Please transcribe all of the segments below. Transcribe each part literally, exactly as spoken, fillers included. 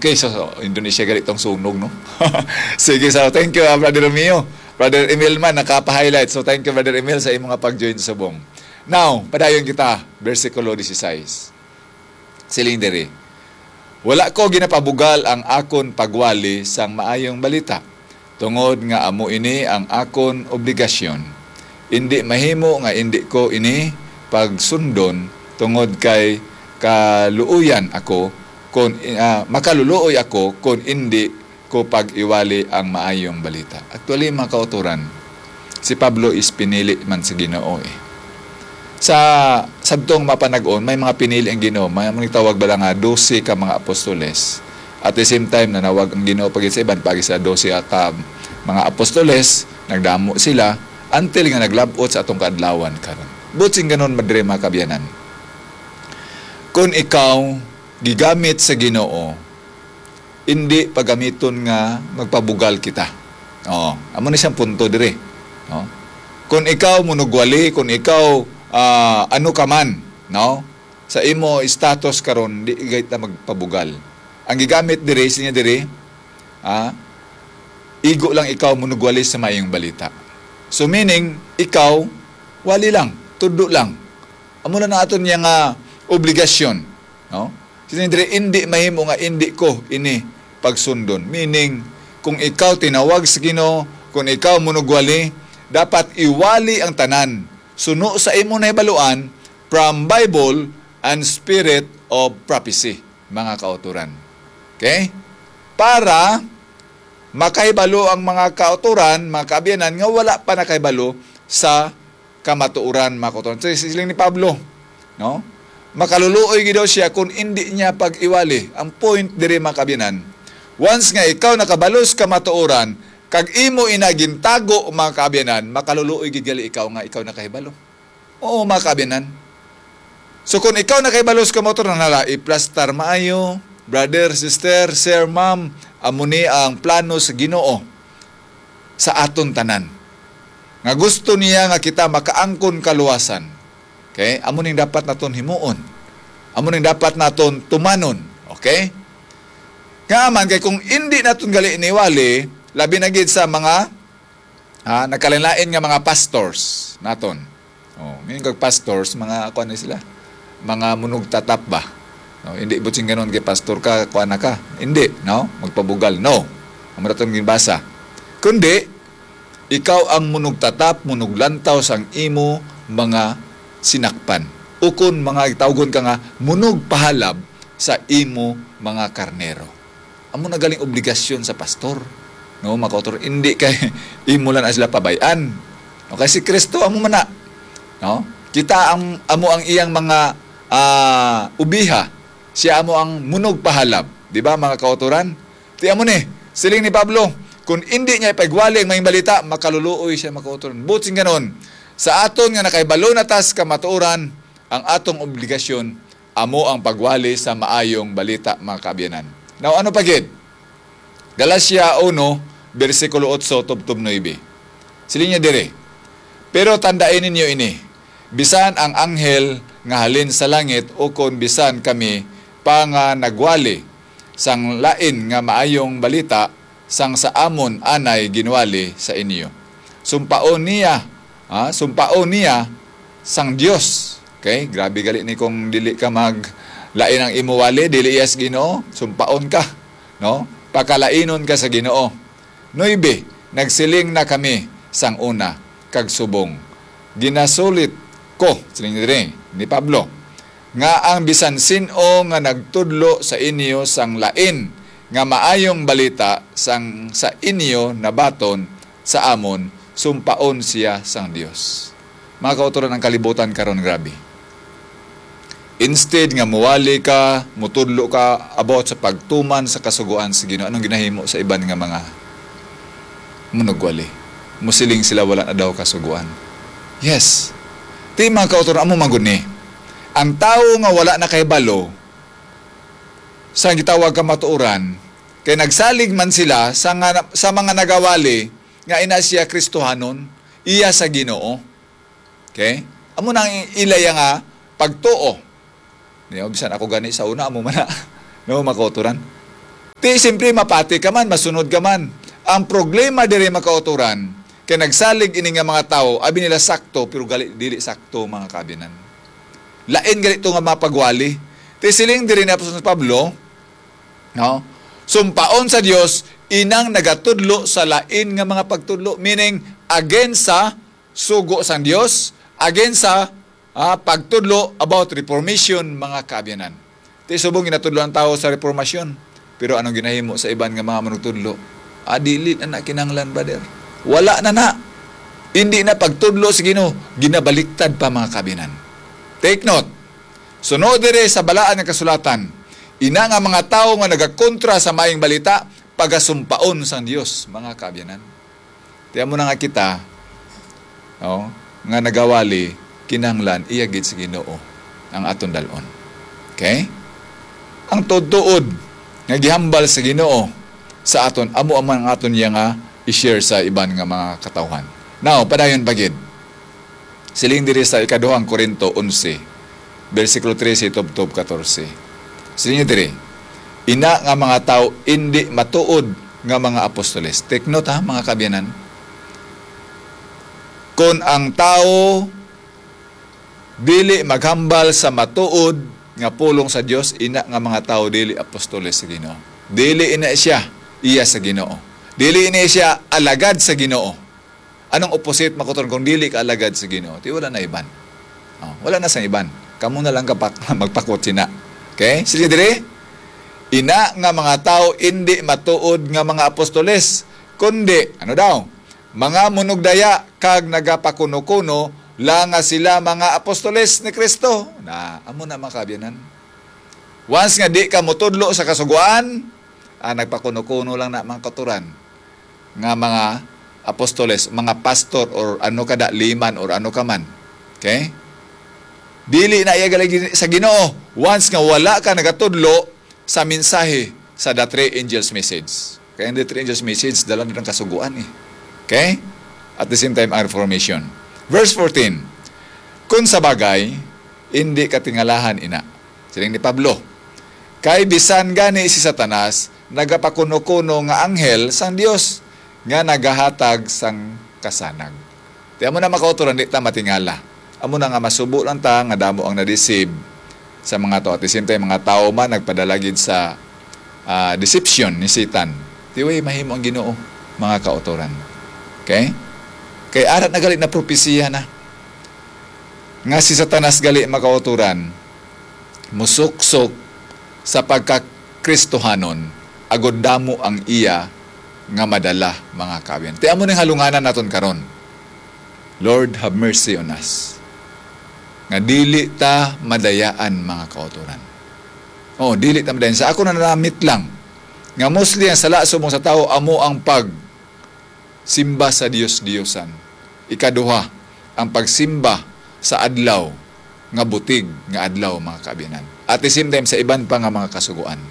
Okay, so, so, Indonesia gali tong sunog, no? Sige, so thank you, ah, Brother Romeo. Brother Emil man, nakapa-highlight. So thank you, Brother Emil, sa imong nga pag-join sa subong. Now, padayon kita, bersikulo dieciséis. Siling diri, "Wala ko ginapabugal ang akon pagwali sang Maayong Balita, tungod nga amo ini ang akon obligasyon. Indi mahimo nga indi ko ini pagsundon, tungod kay kaluoyan ako kon, ah, makaluluoy ako kon indi ko pag-iwali ang Maayong Balita." Actually, mga kauturan, si Pablo is pinili man sa Ginoo, eh. Sa, sadtong mapanag-on, may mga pinili ang Ginoo. May mga tawag bala nga dose ka mga apostoles. At the same time, nanawag ang Ginoo pa gid sa iban, pagi sa dose ka mga apostoles, nagdamo sila, until nga naglab-ot sa atong kaadlawan karon. Buot silingon, madre, mga kaabyanan, kung ikaw gigamit sa Ginoo, indi pagamiton nga magpabugal kita. Oh, amo ni siyang punto diri, no? Kung ikaw munugwali, kung ikaw, ah, ano ka man, no? Sa imo status karon, di gayud ta magpabugal. Ang gigamit diri, siya diri, ah, igo lang ikaw munugwali sa Maayong Balita. So meaning, ikaw, wali lang, tudlo lang. Amo na ang aton niya nga obligasyon, no? Siling diri, "Indi mahimo nga indi ko ini pagsundon." Meaning, kung ikaw tinawag sa Ginoo, kung ikaw munugwali, dapat iwali ang tanan suno sa imo nahibaluan from Bible and spirit of prophecy, mga kauturan. Okay? Para makahibalo ang mga kauturan, mga kaabyanan, nga wala pa nakahibalo sa kamatuoran, mga kauturan. So, siling ni Pablo, no? Makaluluoy gid daw siya kung indi niya pag-iwali. Ang point diri, mga kaabyanan, once nga ikaw nakabalo sa kamatuoran, kag imo ina gintago, mga kaabyanan, makaluluoy gid gali ikaw nga ikaw nakahibalo. Oo, mga kaabyanan. So, kung ikaw nakahibalo sa kamatuoran, hala, iplastar maayo, brother, sister, sir, ma'am, amo ni ang plano sa Ginoo sa aton tanan. Nga gusto niya nga kita makaangkon kaluwasan. Okay? Amo ning dapat naton himuon. Amo ning dapat naton tumanon. Okay? Nga man, kay kung indi naton gali iniwali, labi na gid sa mga, ha, nagkalain-lain nga mga pastors naton. Oh, ngayon kag pastors, mga kuan na sila. Mga munugtatap ba? No, hindi buot silingon kay pastor ka, kuan na ka. Hindi, no? Magpabugal, no. Amo naton ginbasa. Kundi, ikaw ang munugtatap, munuglantaw sang imo mga sinakpan. Ukon mga tawgon ka nga munugpahalab sa imo mga karnero. Amo na galing obligasyon sa pastor, no, mga kauturan. Hindi kay imo lang na sila pabay-an. No, kay si Kristo amo man na, no? Kita ang, amo ang iyang mga, ah, ubiha. Siya amo ang munugpahalab, di ba, mga kauturan? Ti amo ni, siling ni Pablo, kung indi niya ipagwali ang Maayong Balita, makaluluoy siya, mga kauturan. Buot silingon, sa aton nga nakahibalo na ta sa kamatuoran, ang atong obligasyon amo ang pagwali sa Maayong Balita, mga kaabyanan. Now, ano pa gid? Galacia uno, bersikulo otso tubtob nuebe. Siling niya diri, "Pero tandai ninyo ini, bisan ang anghel nga halin sa langit ukon bisan kami pa nga nagwali sang lain nga Maayong Balita sang sa amon anay ginwali sa inyo, sumpaon niya, ha, sumpaon niya sang Dios." Okay, grabe gali ni kung dili ka mag lain ang imo wali, dili iya sa Ginoo, sumpaon ka, no? Pakalainon ka sa Ginoo. Nuebe, nagsiling na kami sang una, kag subong. Ginasulit ko, siling diri ni Pablo, nga ang bisan sin-o nga nagtudlo sa inyo sang lain nga maayong balita sang sa inyo nabaton sa amon, sumpaon siya sang Dios. Mga kauturan, ang kalibutan karon, grabe. Instead nga muwali ka, mutudlo ka about sa pagtuman sa kasugoan sa Ginoo, anong ginahimo sa iban nga mga munugwali? Musiling sila, "Wala na daw kasugoan." Yes. Ti, mga kauturan, amo man gud ni. Ang tawo nga wala nakahibalo sa gitawag kamatuoran, kay nagsalig man sila sa nga, sa mga nagawali nga ina siya Kristohanon, iya sa Ginoo. Okay? Amo na ang ilaya nga pagtuo. Di ba, bisan ako gani sa una, amo man na. No, mga kauturan. Ti, siyempre, mapati ka man, masunod ka man. Ang problema diri, mga kautoran, kay nagsalig ini nga mga tawo, abi nila sakto, pero gali, dili sakto, mga kaabyanan. Lain gali to nga mga pagwali. Ti siling diri ni Apostol Pablo, no? Sumpaon sa Dios inang nagatudlo sa lain nga mga pagtudlo, meaning against sa sugo sang Dios, against sa, ah, pagtudlo about reformation, mga kaabyanan. Ti subong ginatudlo ang tawo sa reformasyon. Pero anong ginahimo sa iban nga mga manugtudlo? Ah, dili na na kinahanglan, brother. Wala na na. Hindi na pagtudlo sa Ginoo, ginabaliktad pa, mga kaabyanan. Take note. Sunod diri sa Balaan nga Kasulatan, ina nga mga tawo nga nagakontra sa Maayong Balita, pagasumpaon sang Dios, mga kaabyanan. Ti amo na nga kita, oh, nga nagawali, kinahanglan iya gid sa Ginoo ang aton dal-on. Okay? Ang tuod-tuod nga gihambal sa Ginoo sa aton, amo man ang aton iya nga i-share sa iban nga mga katawhan. Now, padayon pa gid. Siling diri sa ikaduhang Corinto onse, bersikulo trese tubtob katorse. Siling diri, ina nga mga tawo indi matuod nga mga apostoles. Take note, ha, mga kaabyanan. Kon ang tawo dili maghambal sa matuod nga pulong sa Dios, ina nga mga tawo dili apostoles sa Ginoo. Dili ina siya iya sa Ginoo. Dili ina siya alagad sa Ginoo. Anong opposite, mga kautoran, kung dili ka alagad sa Ginoo? Ti wala na iban. Oh, wala na sang iban. Kamo na lang kapak magpakot sina. Okay? Sige diri. Ina nga mga tawo indi matuod nga mga apostoles, kundi, ano daw? Mga munugdaya kag nagapakuno-kuno lang nga sila mga apostoles ni Cristo. Na, amo na, mga kaabyanan. Once nga di ka mutudlo sa Kasugoan, ah, nagpakuno-kuno lang na, mga kautoran, nga mga apostoles, mga pastor, or ano ka da, liman, or ano ka man. Okay? Dili na iya gali sa Ginoo once nga wala ka nagatudlo sa mensahe sa the three angels message. Kaya ang the three angels message, dala na ng Kasugoan eh. Okay? At the same time, ang reformation. Verse fourteen, "Kung sa bagay, hindi katingalahan ina." Siling ni Pablo, "Kay bisan gani si Satanas nagapakuno-kuno nga anghel sang Dios nga nagahatag sang kasanag." Ti amo na, mga kautoran, di ta matingala. Amo na nga masubo lang ta nga damo ang na-deceive sa mga tao. At the same time, mga tao man nagpadala gid sa, ah, deception ni Satan. Ti way mahimo ang Ginoo, mga kautoran. Okay? Kay ara na gali na propesiya na nga si Satanas gali, mga kautoran, musuksok sa pagka-Kristohanon, agod damo ang iya nga madala, mga kaabyan. Ti amo ning halunganan naton karon. Lord, have mercy on us. Nga dili ta madayaan, mga kautoran. Oh, dili ta madayaan. Sa ako na namit lang, nga mostly ang sala subong sa tawo amo ang pag simba sa dios-diosan. Ikaduha, ang pagsimba sa adlaw nga butig nga adlaw, mga kaabyanan. At the same time, sa iban pa nga mga kasugoan.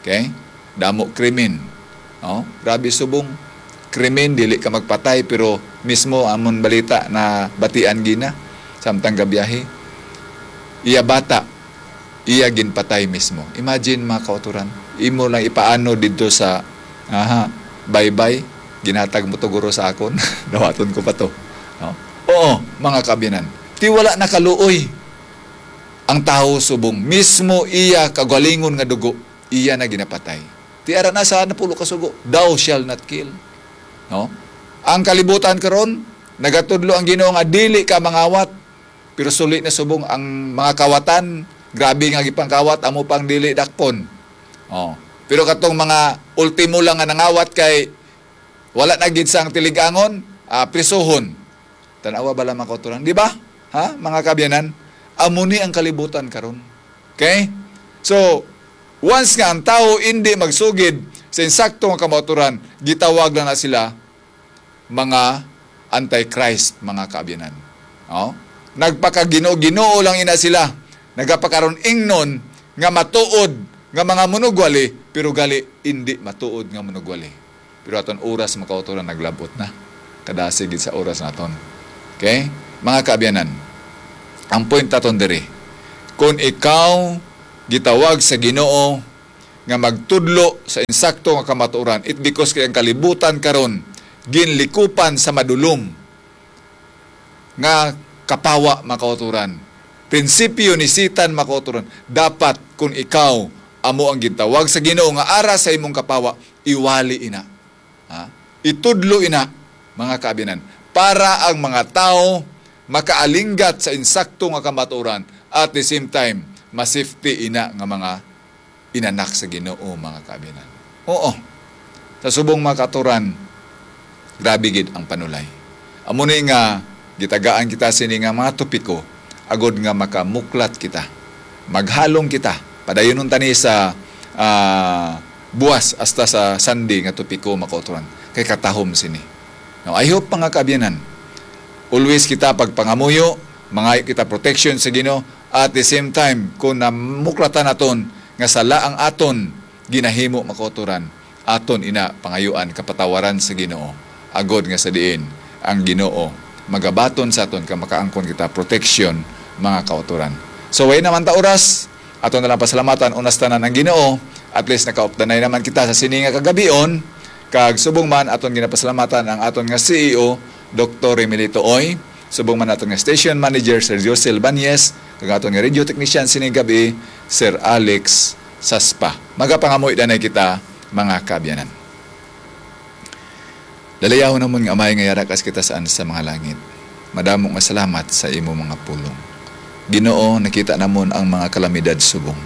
Okay? Damo krimen. No? Grabe subong krimen, dili ka magpatay, pero mismo amon balita na batian gina, samtang gabiyahe. Iya bata, iya ginpatay mismo. Imagine, mga kautoran, imo lang ipaano didto sa, aha, baybay, ginhatag mo to guro sa akon, dawaton ko pa to. No? Oo, mga kaabyanan, ti wala nakaluoy ang tawo subong mismo iya kagalingon nga dugo, iya na ginapatay. Ti ara na sa napulo ka sugo, "Thou shall not kill." No? Ang kalibutan karon, nagatudlo ang Ginoo nga dili ka mangawat. Pero suli na subong ang mga kawatan, grabe nga gipangkawat, amo pang dili dakpon. Oh. Pero katong mga ultimo lang nga nangawat kay wala na gid sang tilig-angon, ah, prisuhon. Tan-awa bala, mga kautoran, di ba? Ha, mga kaabyanan? Amo ni ang kalibutan karon. Okay? So, once nga ang tawo indi magsugid sa insakto nga kamaturan, gitawag lang na sila mga antichrist, mga kaabyanan. Oh? Nagpakaginoo-ginoo lang ina sila. Nagapakaron-ingnon nga matuod nga mga manugwali, pero gali indi matuod nga manugwali. Pero aton oras, mga kautoran, naglabot na. Kadasig gid sa oras naton. Okay? Mga kaabyanan, ang point naton diri, kung ikaw gitawag sa Ginoo, nga magtudlo sa insakto nga kamatuoran. It because kay ang kalibutan karon ginlikupan sa madulom nga kapawa, mga kauturan. Prinsipyo ni Satan, mga kauturan. Dapat kung ikaw amo ang gintawag sa Ginoo nga ara sa imong kapawa, iwali ina. Ha? Itudlo ina, mga kaabyanan, para ang mga tawo makaalinggat sa insakto nga kamatuoran, at the same time, ma-safety ina nga mga inanak sa Ginoo, mga kaabyanan. Oo, sa subong, mga kauturan, grabe gid ang panulay. Amo ni nga gitagaan kita sini nga mga topiko agod nga makamuklat kita, maghalong kita. Padayunon tani sa, ah, buwas hasta sa Sunday nga topiko, mga kauturan, kay katahom sini. Now, I hope, mga kaabyanan, always kita pagpangamuyo, mangayo kita protection sa Ginoo, at the same time, kung namuklatan naton nga sala ang aton ginahimo, mga kauturan, aton ina pangayuan kapatawaran sa Ginoo, agod nga sa diin ang Ginoo magabaton sa aton kag makaangkon kita protection, mga kauturan. So, way naman ta oras, aton na lang pasalamatan unas tanan ang Ginoo. At least nakaupdanay naman kita sa sini nga kagabion, kag subong man aton ginapasalamatan ang aton nga C E O, Doktor Remilito Oy, subong man aton nga station manager, Sir Josel Banyes, kag aton nga radio technician sining gabi, Sir Alex Saspa. Magapangamuy danay kita, mga kaabyanan. Dalayawon namon nga Amay nga yara kas kita saan sa mga langit. Madamo nga salamat sa imo mga pulong. Ginoo, nakita namon ang mga kalamidad subong.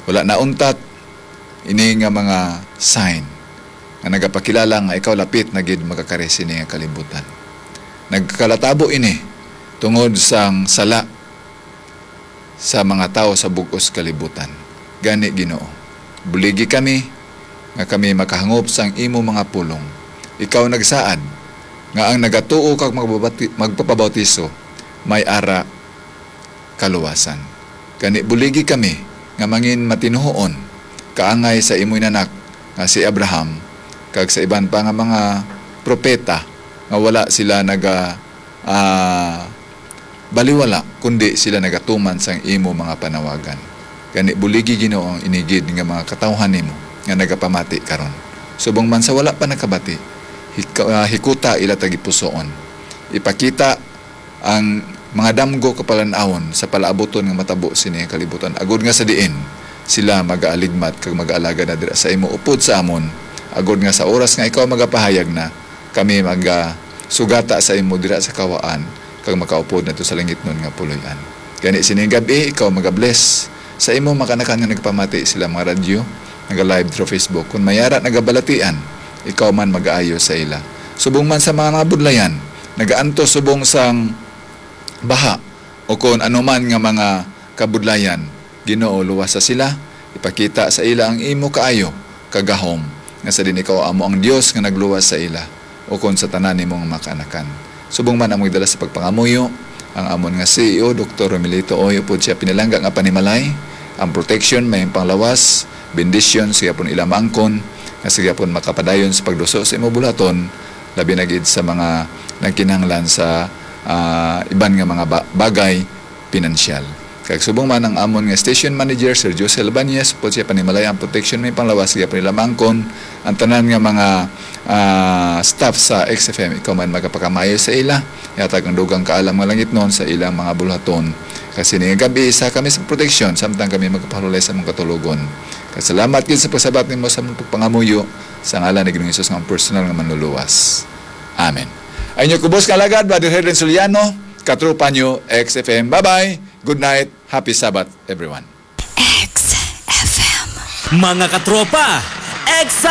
Wala na untat ini nga mga sign nga nagapakilala nga ikaw lapit na gid makakari sini nga kalibutan. Nagkalatabo ini tungod sang sala sa mga tawo sa bug-os kalibutan. Gani, Ginoo, buligi kami nga kami makahangop sang imo mga pulong. Ikaw nagsaad nga ang nagatuo kag magbabati-, magpapabautiso may ara kaluwasan. Gani, buligi kami nga mangin matinuhoon kaangay sa imo inanak nga si Abraham kag sa iban pa nga mga propeta nga wala sila naga, ah, baliwala, kundi sila nagatuman sang imo mga panawagan. Gani, buligi, Ginoo, ang ini gid nga mga katawuhan nimo nga nagapamati karon. Subong man sa wala pa nakabati, hik-, ah, hikuta ila tagipusoon. Ipakita ang mga damgo kapalan-awon sa palaabuton nga matabo sini nga kalibutan, agod nga sa diin sila magaaligmat kag magaalagad na dira sa imo upod sa amon, agod nga sa oras nga ikaw magapahayag na, kami magasugata sa imo dira sa kawaan kag makaupod nato sa langitnon nga puloy-an. Gani, sining gab-i ikaw magabless sa imo mga kaanakan nga nagpamati sila mga radyo, naga-live through Facebook. Kung may ara nagabalatian, ikaw man magaayo sa ila. Subong man sa mga, mga budlayan, nagaantos subong sang baha, o kon ano man nga mga kabudlayan, Ginoo, luwasa sila, ipakita sa ila ang imo kaayo kag gahom, nga sa din ikaw amo ang Dios nga nagluwas sa ila, o kon sa tanan nimo nga mga kaanakan. Subong man ang magdala sa pagpangamuyo, ang amon nga C E O, Doktor Romelito Oy, upod siya pinalangga nga panimalay, ang protection may panglawas, bendisyon, siya pun ila maangkon, nga siya pun makapadayon sa pagduso sa imo bulaton, labi na gid sa mga nagkinahanglan sa, ah, iban nga mga ba-, bagay pinansyal. Kag subong man ang amon nga station manager, Sir Josel Banyes, upod siya panimalay ang protection may panglawas, siya pun ila maangkon, ang tanan nga mga, ah, staff sa X F M, ikaw man magapakamayo sa ila, yatag ang dugang kaalam nga langitnon sa ilang mga buluhaton. Kag sini nga gab-i, isa kami sa proteksyon, samtang kami magpahalulay sa among katulogon. Kag salamat gid sa pagsabat nimo sa among pagpangamuyo, sa ngalan ni Ginoong Jesus nga among personal nga Manluluwas. Amen. Ang inyo kubos nga alagad, Brother Herlin Soliano, katropa nyo, X F M. Bye-bye. Good night. Happy Sabbath, everyone. X F M. Mga katropa, X